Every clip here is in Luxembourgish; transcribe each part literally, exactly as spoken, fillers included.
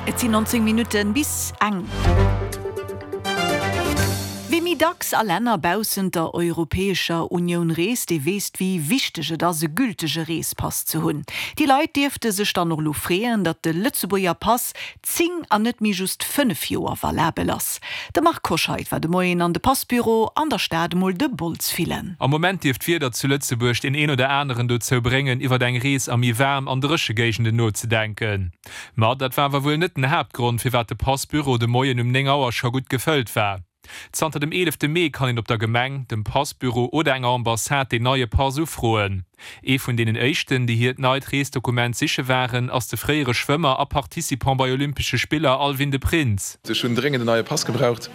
Et sinn nonzéng Minutten bis eng. Wie méi dacks a Länner baussent der Europäescher Unioun reest, dee weess, wéi wichteg et ass, e gültege Reespass ze hunn. Déi Leit dierfte sech dann och elo freeën, datt de Lëtzebuerger Pass zéng an net méi just fënnef Joer valabel ass. De Marc Hoscheid war de Moien an de Passbüro an der Stad emol de Bols fillen. Am Moment dierft d'Wieder zu Lëtzebuerg deen een oder aneren dozou bréngen, iwwer eng Rees a méi waarm an dréche Géigenden nozedenken. Ma dat war awer wuel net den Haaptgrond, firwat de Passbüro de Moien um néng Auer scho gutt gefëllt war. Zanter dem eelefte Mee kann een op der Gemeng, dem Passbüro oder enger Ambassade deen neie Pass ufroen. Ee vun deenen éischten, déi hiert neit Reesdokument siche waren, ass de fréiere Schwëmmer a Participant bei Olympesche Spiller Alwin de Prins. Ech hunn dréngend en neie Pass gebraucht,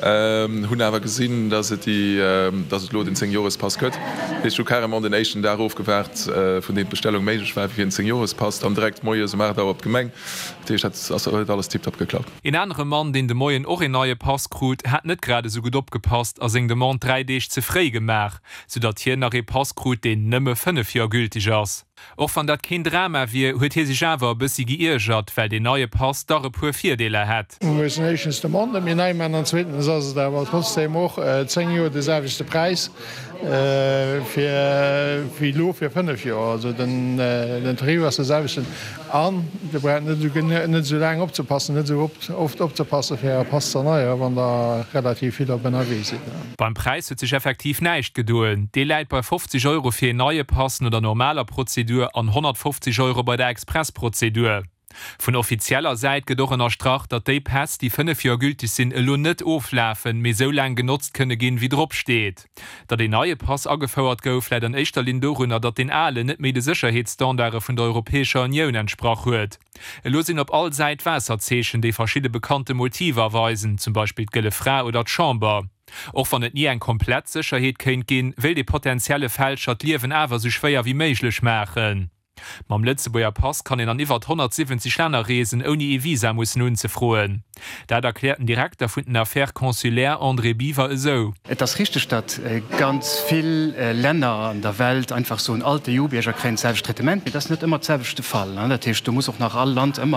hunn awer gesinn, dass et déi, dass et elo den Zéng-Jorespass gëtt. Ech hu carrément den éischten Dag ofgewaart, vun deem d'Bestellung méiglech war, fir en Zéng-Jorespass, dann direkt moies um aacht Auer op d'Gemeng. Dat heescht, dat ass, huet alles tiptop geklappt. Een anere Mann, deen de Moien och een neie Pass krut, hat net grad esou gutt opgepasst a seng Demande dräi Deeg ze fréi gemaach, soudatt hien nach ee Pass krut, deen nëmme fënnef Joer gülteg ass. Och wann dat keen Drama wier, huet hie sech awer e bëssi geiergert, well deen neie Pass dach e puer Virdeeler hätt. Mir mussen éischtens d'Demande méi nei maachen an zweetens ass et awer trotzdeem och zéng Joer de selwechte Präis fir wéi elo fir fënnef Joer. Also den Tarif ass de selwechten an Dir braucht net esou net esou laang opzepassen, net esou oft opzepassen, fir Äre Pass ze erneieren, wann Der relativ vill op ënnerwee sidd. Beim Präis huet sech effektiv näischt gedoen, dee läit bei fofzeg Euro fir een neie Pass no der normaler Prozedur an honnertfofzeg Euro bei der Expressprozedur. Vun offizieller Säit gëtt och ënnerstrach, datt déi Päss, déi fënnef Joer gülteg sinn, elo net oflafen, mee esou laang genotzt kënne ginn, wéi drop steet. Datt een neie Pass agefouert gouf, läit an éischter Linn dorunner, datt deen alen net méi de Sécherheetsstandarde vun der Europäescher Unioun entsprach huet. Elo sinn op all Säit Waasserzeechen, déi verschidde bekannte Motiver weisen, zum Beispill d'Gëlle Fra oder d'Chamber. Och wann et ni eng komplett Sécherheet kéint ginn, wéilt ee potentielle Fälscher d'Liewen awer esou schwéier wéi méiglech maachen. Mam Lëtzebuerger Pass kann een an iwwert honnertsiwwenzeg Länner reesen, ouni ee Visa mussen unzefroen. Dat erkläert den Direkter vun den Affaires consulaires André Biver esou. Et ass richteg, datt ganz vill Länner an der Welt einfach soen, all d'EU-Bierger kréien d'selwecht Traitement, mee dat ass net ëmmer d'selwecht de Fall. Dat heescht, do muss och nach all Land ëmmer